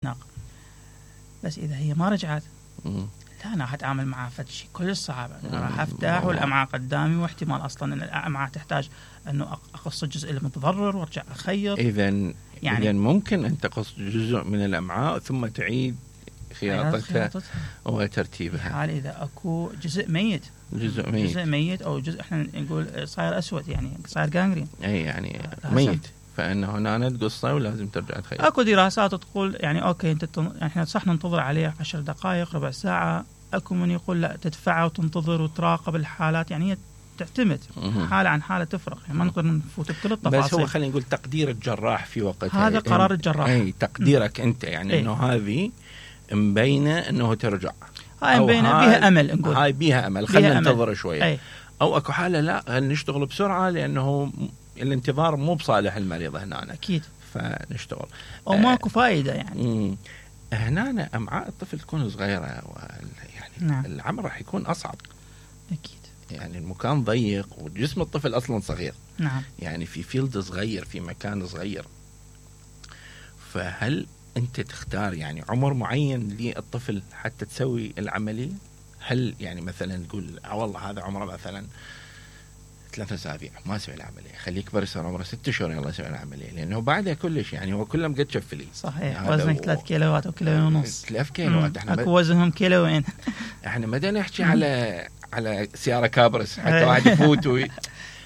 ناقة. بس إذا هي ما رجعت لا أنا هتعامل معها فشي كل صعب، راح أفتح والأمعاء قدامي واحتمال أصلا أن الأمعاء تحتاج أنه أقص الجزء المتضرر وارجع أخيط. إذن ممكن أن تقص جزء من الأمعاء ثم تعيد خياطتها وترتيبها. حال إذا أكو جزء ميت أو جزء إحنا نقول صاير أسود يعني صاير جانجرين أي يعني ميت، فإنه هنا تقصه ولازم ترجع تخيط. أكو دراسات تقول يعني أوكي إحنا صح ننتظر عليه 10 دقائق ربع ساعة، أكو من يقول لا تدفعه وتنتظر وتراقب الحالات، يعني هي تعتمد حالة عن حالة تفرق، يعني ما نقدر نفوت بكل التفاصيل. بس هو خلينا نقول تقدير الجراح في وقتها، هذا قرار الجراح. أي تقديرك أنت يعني إنه هذه مبينة إنه ترجع، هاي مبينة بيها أمل، نقول هاي بيها أمل خلينا ننتظر شوية. أي. أو أكو حالة لا نشتغل بسرعة لأنه الانتظار مو بصالح المريض هنا أكيد، فنشتغل أو ماكو فائدة يعني. هنا أمعاء الطفل تكون صغيرة يعني نعم. العمل راح يكون أصعب أكيد، يعني المكان ضيق وجسم الطفل أصلا صغير. نعم. يعني في فيلد صغير في مكان صغير، فهل أنت تختار يعني عمر معين للطفل حتى تسوي العملية؟ هل يعني مثلا نقول والله هذا عمره مثلا 3 أسابيع ما سوي العملية، خليه يكبر يصير عمره 6 شهور يلا سوي العملية، لأنه بعدها كلش يعني هو كله مقد شفلي. صحيح يعني وزنك 3 كيلوات أو 1.5 كيلو. 3 كيلوات اكو وزنهم كيلوين. احنا ما نحكي على سيارة كابرس حتى واحد يفوت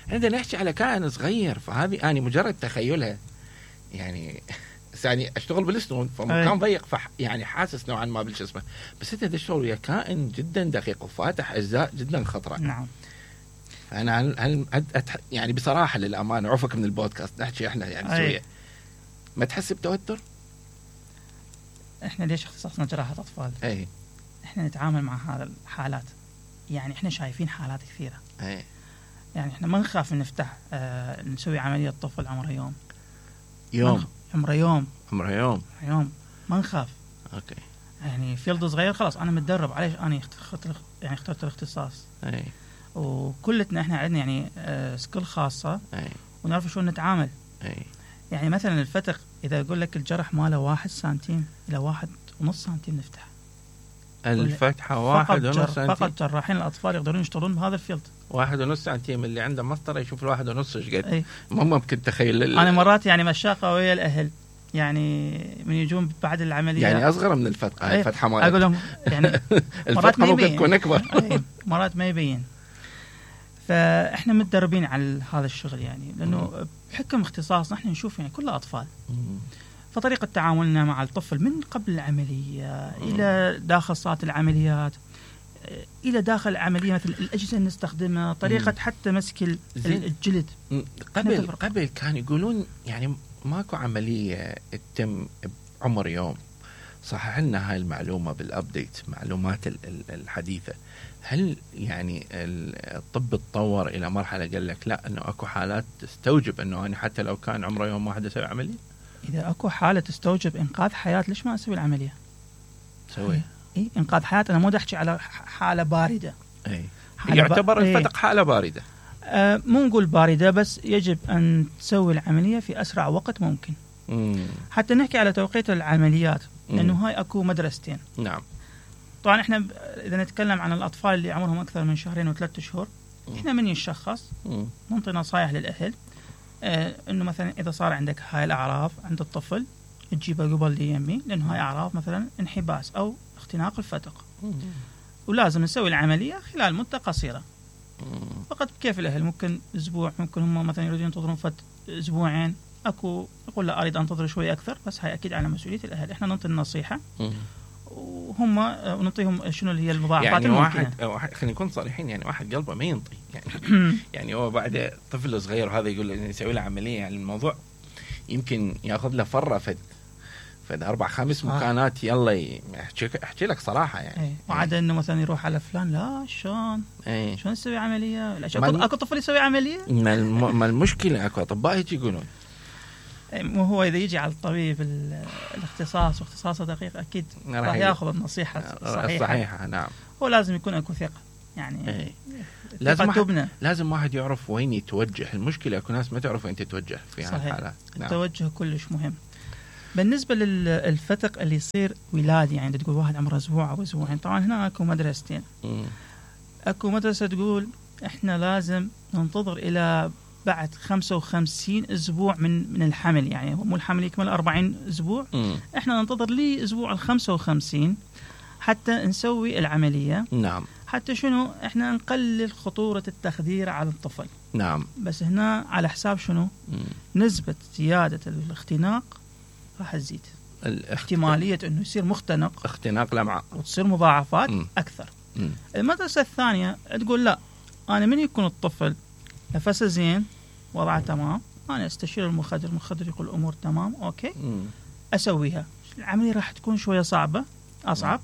عندنا نحكي على كائن صغير. فهذه أنا مجرد تخيلها يعني يعني اشتغل بالسنون فمكان ضيق يعني حاسس نوعا ما بالجسم، بس انت تشتغل ويا كائن جدا دقيق وفاتح اجزاء جدا خطره. نعم. فانا يعني بصراحه للامانه عفك من البودكاست نحكي احنا يعني سويه ما تحس بتوتر؟ احنا ليش اختصاصنا جراحه اطفال؟ اي احنا نتعامل مع هذا الحالات، يعني احنا شايفين حالات كثيره. يعني احنا ما نخاف نفتح نسوي عمليه طفل عمره يوم ما نخاف. اوكي. يعني فيلد صغير خلاص انا متدرب عليه، انا اخترت الاختصاص. وكلتنا احنا عندنا يعني سكيل خاصه ونعرف شلون نتعامل. يعني مثلا الفتق اذا اقول لك الجرح ماله 1 سنتيم الى 1.5 سنتيم نفتح الفتحه 1.5 سنتيم. فقط جراحين الاطفال يقدرون يشتغلون بهذا الفيلد. 1.5 سنتيم اللي عنده مسطره يشوف 1.5 ايش قد. ما ممكن تخيل. انا مرات يعني مشاقه ويا الاهل يعني من يجون بعد العمليه يعني اصغر من الفتحه. هاي الفتحه مالك اقول لهم يعني الفتحه ممكن تكون اكبر. مرات ما يبين. فاحنا متدربين على هذا الشغل يعني لانه بحكم اختصاصنا احنا نشوف يعني كل اطفال. فطريقه تعاملنا مع الطفل من قبل العمليه الى داخل صاله العمليات الى داخل العمليه، مثل الاجهزه اللي نستخدمها، طريقه حتى مسك الجلد. قبل كانوا يقولون يعني ماكو عمليه تتم بعمر يوم. صحح لنا هاي المعلومه بالابديت معلومات الحديثه. هل يعني الطب تطور الى مرحله قال لك لا انه اكو حالات تستوجب انه انا حتى لو كان عمره يوم واحد اسوي عمليه؟ اذا اكو حاله تستوجب انقاذ حياه ليش ما اسوي العمليه؟ سوي انقاذ حياه. انا مو احكي على حاله بارده. يعتبر الفتق حاله بارده. مو نقول باردة، بس يجب أن تسوي العملية في أسرع وقت ممكن. حتى نحكي على توقيت العمليات لأنه هاي أكو مدرستين. نعم. طبعا إحنا إذا نتكلم عن الأطفال اللي عمرهم أكثر من 2 و3 شهور إحنا من يشخص نعطي نصايح للأهل إنه مثلا إذا صار عندك هاي الأعراض عند الطفل تجيبه قبل يمي، لأنه هاي أعراض مثلا انحباس أو اختناق الفتق ولازم نسوي العملية خلال مدة قصيرة. فقط كيف الأهل ممكن أسبوع، ممكن هم مثلا يريدون ينتظرون أسبوعين، أكو يقول لا أريد أنتظر شوي أكثر، بس هاي أكيد على مسؤولية الأهل. إحنا نعطي النصيحة وهم ونعطيهم شنو اللي هي المضاعفات يعني الممكنة. واحد خلينا نكون صريحين، يعني واحد قلبه ما ينطي يعني يعني هو بعد طفل صغير وهذا يقول له يسوي له عملية، يعني الموضوع يمكن ياخذ له فرة فد 4-5 مكانات يلا احكي لك صراحه يعني. وعاد انه مثلا يروح على فلان لا شلون يسوي عمليه؟ اكو طفل يسوي عمليه؟ ما المشكله اكو اطباء يجي يقولون مو هو اذا يجي على الطبيب الاختصاص واختصاصه دقيق اكيد راح ياخذ النصيحه الصحيحه. نعم. هو لازم يكون اكو ثقه يعني. لازم واحد يعرف وين يتوجه. المشكله اكو ناس ما تعرف وين تتوجه في هالحالات. التوجه كلش مهم. بالنسبة للفتق اللي يصير ولادي، يعني تقول واحد عمره أسبوع أو أسبوعين، طبعا هنا أكو مدرستين. أكو مدرسة تقول إحنا لازم ننتظر إلى بعد 55 أسبوع من الحمل، يعني مو الحمل يكمل 40 أسبوع، إحنا ننتظر لي أسبوع 55 حتى نسوي العملية. نعم. حتى شنو؟ إحنا نقلل خطورة التخدير على الطفل. نعم. بس هنا على حساب شنو؟ نسبة زيادة الاختناق راح تزيد، احتمالية انه يصير مختنق، اختناق الامعاء، وتصير مضاعفات اكثر. المدرسة الثانية تقول لا، انا من يكون الطفل نفسه زين، وضعه تمام، انا استشير المخدر يقول الامور تمام، اوكي، اسويها. العملية راح تكون شوية صعبة، اصعب،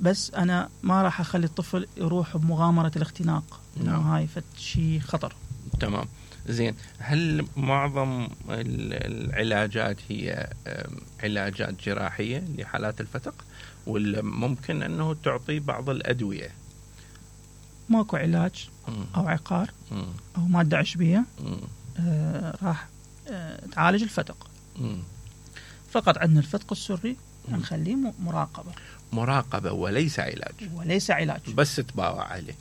بس انا ما راح اخلي الطفل يروح بمغامرة الاختناق، انه هاي شيء خطر. تمام. زين، هل معظم العلاجات هي علاجات جراحية لحالات الفتق، ولا ممكن أنه تعطي بعض الأدوية؟ ماكو علاج أو عقار أو مادة عشبية راح تعالج الفتق. فقط عندنا الفتق السري نخليه مراقبة وليس علاج. بس تباوع عليه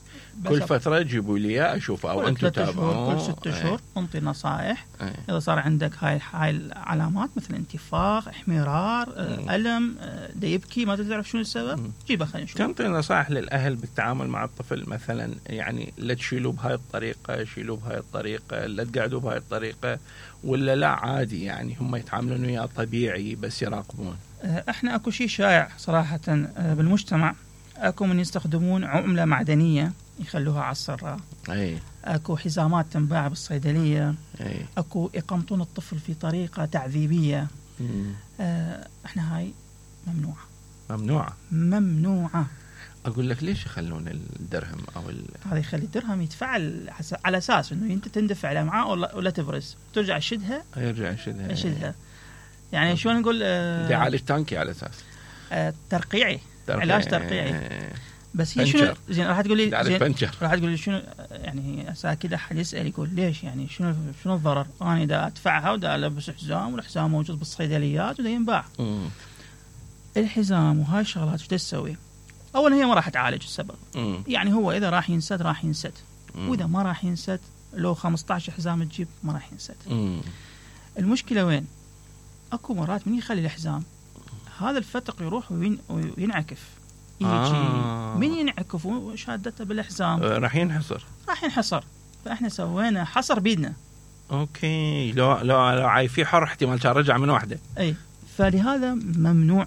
كل فترة، جيبوا لي أشوفه أو أنتم تتابعوه كل 6 شهور. نعطي نصائح. إذا صار عندك هاي العلامات مثل انتفاخ، احمرار، ألم، دا يبكي ما تعرف شنو السبب، جيبه خلينا نشوف. تنطي نصائح للأهل بالتعامل مع الطفل، مثلا يعني لا تشيلوه بهاي الطريقة، شيلوه بهاي الطريقة، لا تقعدوا بهاي الطريقة، ولا لا عادي يعني هم يتعاملون وياه طبيعي بس يراقبون؟ احنا اكو شيء شائع صراحة بالمجتمع، اكو من يستخدمون عملة معدنية يخلوها على السراء، اكو حزامات تنباع بالصيدلية، اكو يقمطون الطفل في طريقة تعذيبية. احنا هاي ممنوعة. اقول لك ليش يخلون الدرهم او هذا يخلي الدرهم يتفعل على اساس انه انت تندفع الامعاء ولا تبرز، ترجع يشدها يعني شو نقول، يعالج تانكي على اساس ترقيعي، علاج ترقيعي. بس هي شنو زين؟ راح تقول لي شنو يعني؟ كذا احد يسال يقول ليش يعني شنو الضرر؟ انا دا ادفعها ودا البس حزام، والحزام موجود بالصيدليات ودا ينباع. الحزام وهاي الشغلات شو تسوي؟ اولا هي ما راح تعالج السبب. يعني هو اذا راح ينسد، واذا ما راح ينسد لو 15 حزام تجيب ما راح ينسد. المشكله وين؟ اكو مرات من يخلي الحزام هذا الفتق يروح وينعكف، يجي من ينعكف وشادته بالحزام راح ينحصر. فاحنا سوينا حصر بيدنا. اوكي، لو عاي في حر احتمال كان رجع من واحده. اي، فلهذا ممنوع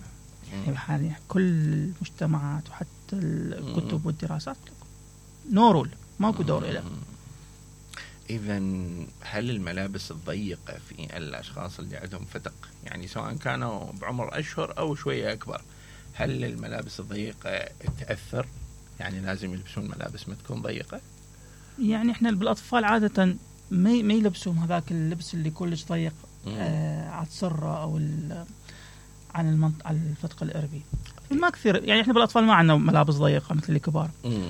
يعني كل المجتمعات وحتى الكتب والدراسات نورول ماكو دور له. إذا هل الملابس الضيقة في الأشخاص اللي عندهم فتق، يعني سواء كانوا بعمر أشهر أو شوية أكبر، هل الملابس الضيقة تأثر؟ يعني لازم يلبسون ملابس ما تكون ضيقة؟ يعني إحنا بالأطفال عادة ما يلبسون هذاك اللبس اللي كلش ضيق على السرة أو عن الفتق الإربي. ما كثير يعني، احنا بالاطفال ما عندنا ملابس ضيقه مثل الكبار،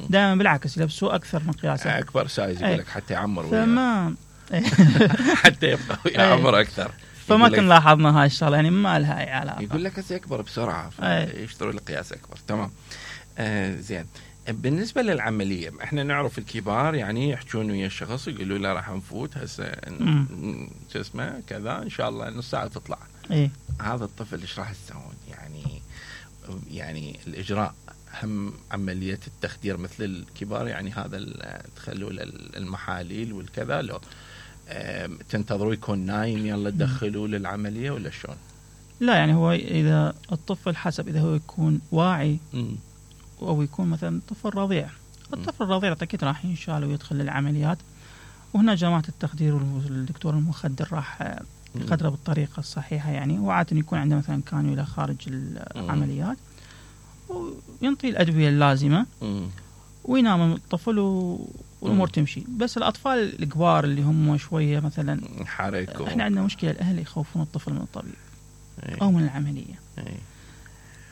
دائما بالعكس يلبسوا اكثر من قياسه، اكبر سايز يقول لك حتى يعمر فما حتى يبقى يعمر اكثر. فما كنا لاحظنا هاي الشغله، يعني ما لها اي علاقه. يقول لك هسه يكبر بسرعه فيشتروا له قياس اكبر. تمام. زين، بالنسبه للعمليه احنا نعرف الكبار يعني يحجون ويا الشخص يقولوا له راح نفوت هسه شو اسمه كذا ان شاء الله نص ساعه تطلع. هذا الطفل ايش راح تسوون؟ يعني الإجراء هم عملية التخدير مثل الكبار، يعني هذا تخلوا المحاليل والكذا، لو تنتظروا يكون نايم يلا تدخلوا للعملية ولا شلون؟ لا، يعني هو إذا الطفل حسب إذا هو يكون واعي أو يكون مثلا طفل رضيع. الطفل الرضيع أكيد راح ينشال ويدخل للعمليات، وهنا جماعة التخدير والدكتور المخدر راح يقدره بالطريقة الصحيحة يعني، وعادة يكون عنده مثلا كانيولا خارج العمليات وينطي الأدوية اللازمة وينام الطفل والأمور تمشي. بس الأطفال الكبار اللي هم شوية مثلا احنا عندنا مشكلة، الأهل يخوفون الطفل من الطبيب أو من العملية.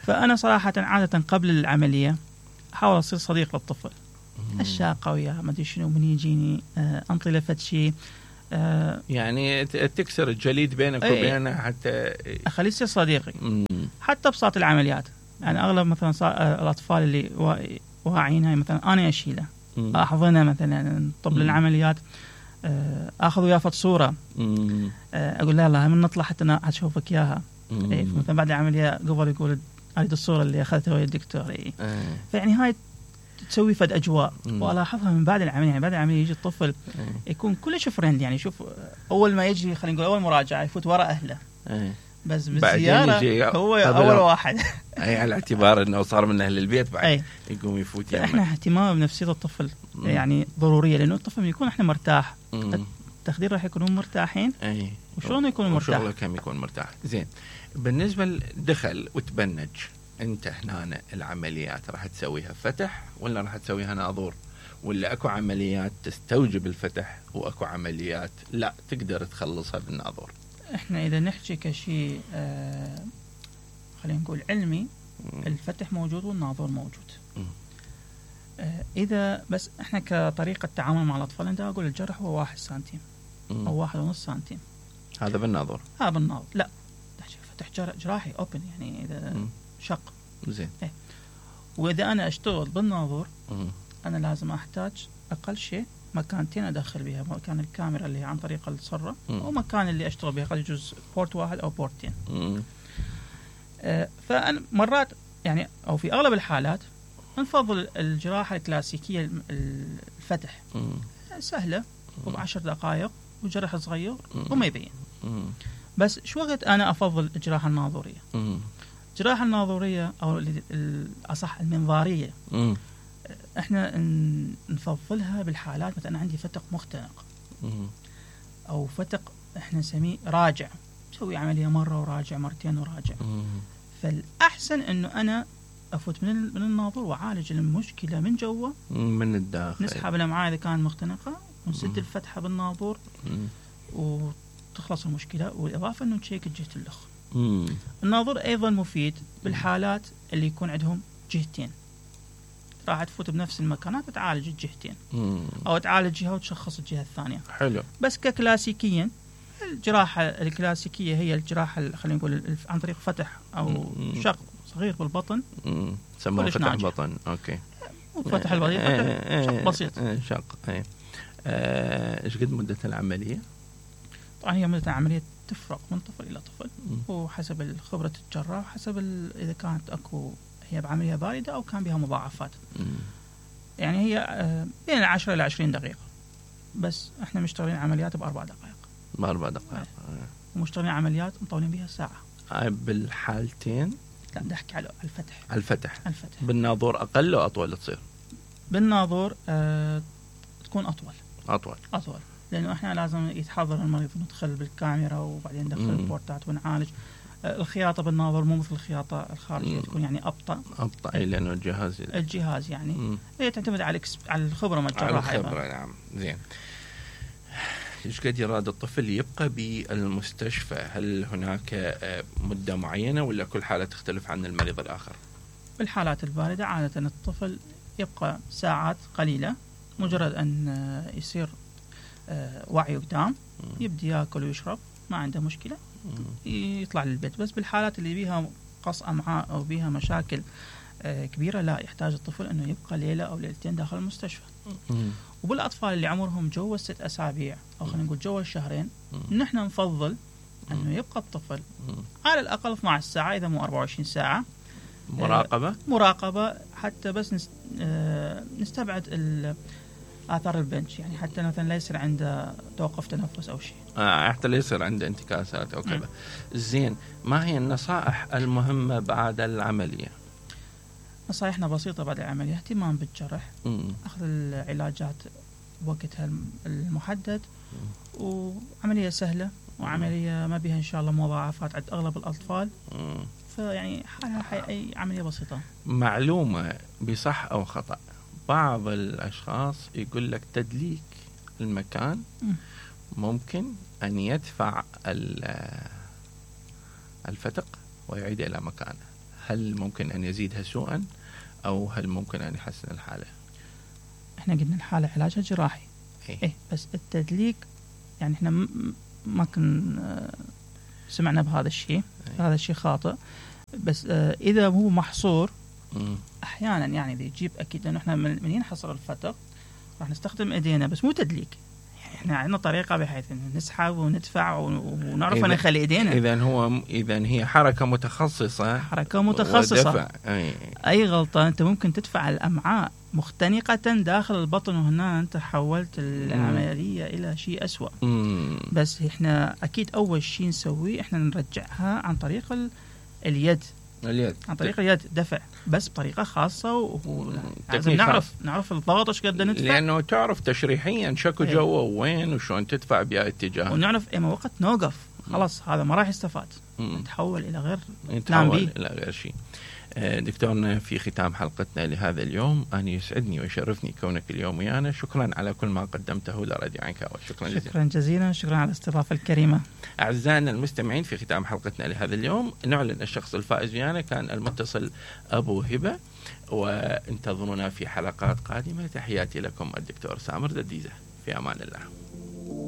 فأنا صراحة عادة قبل العملية أحاول أصير صديق للطفل، الشاقة وياه ما أدري شنو، من يجيني أنطي له فد شيء، يعني تكسر الجليد بينك وبينه حتى اخليه يصير صديقي. حتى بساط العمليات، يعني اغلب مثلا الاطفال اللي واعيين، مثلا انا اشيله احضنه مثلا طب للعمليات، اخذ وياه صوره، اقول له يلا من نطلع حتى اشوفك اياها. مثلا بعد العمليه قبل يقول هذه الصوره اللي اخذتها ويا الدكتور. فيعني هاي تسوي فد اجواء. والاحظها من بعد العمليه، يعني بعد العمليه يجي الطفل يكون كلش فريند، يعني شوف اول ما يجي خلينا نقول اول مراجعه يفوت وراء اهله، بس بالزياره هو اول واحد. اي على اعتبار انه صار من اهل البيت بعد يقوم يفوت. احنا اهتمام بنفسيه الطفل يعني ضروريه، لانه الطفل يكون احنا مرتاح، التخدير راح يكونون مرتاحين. وشلون يكون مرتاح؟ وشغله كم يكون مرتاح. زين، بالنسبه لدخل وتبنج، انت هنا العمليات راح تسويها فتح ولا راح تسويها ناظور، ولا اكو عمليات تستوجب الفتح واكو عمليات لا تقدر تخلصها بالناظور؟ احنا اذا نحكي كشيء خلينا نقول علمي، الفتح موجود والناظور موجود. اذا بس احنا كطريقه تعامل مع الاطفال، انت اقول الجرح هو 1 سنتيم او 1.5 سنتيم، هذا بالناظور. بالناظور لا فتح جراحي اوبن، يعني اذا شق. زين. واذا انا اشتغل بالناظور، انا لازم احتاج اقل شيء مكانتين ادخل بها، مكان الكاميرا اللي هي عن طريق الصره، ومكان اللي اشتغل بها، قد يجوز بورت 1 او بورتين. فانا مرات يعني او في اغلب الحالات نفضل الجراحه الكلاسيكيه، الفتح سهله ب10 دقائق وجرح صغير وما يبين. بس شو وقت انا افضل الجراحه الناظوريه؟ الجراحه الناظوريه او الاصح المنظاريه، احنا نفضلها بالحالات مثلا عندي فتق مختنق او فتق احنا نسميه راجع، نسوي عمليه مره وراجع، مرتين وراجع. فالاحسن انه انا افوت من الناظور واعالج المشكله من جوا، من الداخل، نسحب الامعاء اذا كانت مختنقه ونسد الفتحه بالناظور وتخلص المشكله. والاضافه انه نشيك جهه اللخ. الناظور ايضا مفيد بالحالات اللي يكون عندهم جهتين، راح تفوت بنفس المكانات وتعالج الجهتين، او تعالج جهه وتشخص الجهه الثانيه. حلو. بس ككلاسيكيا الجراحه الكلاسيكيه هي الجراحه خلينا نقول عن طريق فتح او شق صغير بالبطن، سموه فتح بطن. اوكي. فتح البطن شق بسيط. شق. ايش قد مده العمليه؟ طبعا هي مده العمليه تفرق من طفل الى طفل، وحسب خبره الجراح، حسب اذا كانت اكو هي بعمليه بارده او كان بها مضاعفات. يعني هي بين 10 الى 20 دقيقه، بس احنا مشتغلين عمليات ب4 دقائق. ب4 دقائق. ومشتغلين عمليات مطولين بها ساعه. بالحالتين؟ لا نحكي على الفتح. الفتح. بالناظور اقل او اطول تصير؟ بالناظور تكون اطول، لانه احنا لازم يتحضر المريض ندخل بالكاميرا وبعدين ندخل البورتات ونعالج. الخياطه بالناظور مو مثل الخياطه الخارجيه، تكون يعني ابطا. اي لانه الجهاز يعني هي تعتمد على الخبره مال الجراح. على الخبره. نعم. زين. ايش قد يراد الطفل يبقى بالمستشفى؟ هل هناك مده معينه ولا كل حاله تختلف عن المريض الاخر؟ بالحالات البارده عاده الطفل يبقى ساعات قليله، مجرد ان يصير وعي قدام، يبدي ياكل ويشرب ما عنده مشكله، يطلع للبيت. بس بالحالات اللي بيها قص امعاء او بيها مشاكل كبيره، لا يحتاج الطفل انه يبقى ليله او ليلتين داخل المستشفى. وبالاطفال اللي عمرهم جوا 6 أسابيع او خلينا نقول جوا الشهرين، نحن نفضل انه يبقى الطفل على الاقل 12 ساعه اذا مو 24 ساعه مراقبه حتى بس نستبعد آثار البنش، يعني حتى مثلا لا يصير عنده توقف تنفس أو شيء. حتى لا يصير عنده انتكاسات أو كذا. زين، ما هي النصائح المهمة بعد العملية؟ نصائحنا بسيطة بعد العملية: اهتمام بالجرح، أخذ العلاجات بوقتها المحدد، وعملية سهلة وعملية ما بها إن شاء الله مضاعفات عند أغلب الأطفال. فيعني حالها أي عملية بسيطة. معلومة بصح أو خطأ، بعض الأشخاص يقول لك تدليك المكان ممكن أن يدفع الفتق ويعيد إلى مكانه. هل ممكن أن يزيدها سوءا أو هل ممكن أن يحسن الحالة؟ احنا قلنا الحالة علاجها جراحي. إيه بس التدليك يعني احنا ما كنا سمعنا بهذا الشيء. هذا الشيء خاطئ. بس اذا هو محصور احيانا يعني اذا يجيب اكيد انه احنا من ينحصر الفتق راح نستخدم ايدينا بس مو تدليك. احنا عندنا طريقه بحيث انه نسحب وندفع ونعرف نخلي ايدينا. اذا هي حركه متخصصه. اي غلطه انت ممكن تدفع الامعاء مختنقه داخل البطن وهنا انت حولت العمليه الى شيء أسوأ. بس احنا اكيد اول شيء نسويه احنا نرجعها عن طريق اليد. عن طريق اليد دفع بس بطريقه خاصه لازم نعرف الضغط ايش قد ندفع لانه تعرف تشريحيا شكو جوا وين وشلون تدفع بأي اتجاه ونعرف اي وقت نوقف خلاص هذا ما راح يستفاد نتحول الى غير شيء. دكتورنا في ختام حلقتنا لهذا اليوم أنا يسعدني ويشرفني كونك اليوم ويانا. شكرا على كل ما قدمته لراديو عنكبوت. شكرا جزيلا. شكرا على الاستضافة الكريمة. أعزائنا المستمعين في ختام حلقتنا لهذا اليوم نعلن الشخص الفائز ويانا كان المتصل أبو هبة وانتظرونا في حلقات قادمة. تحياتي لكم الدكتور سامر دديزة في أمان الله.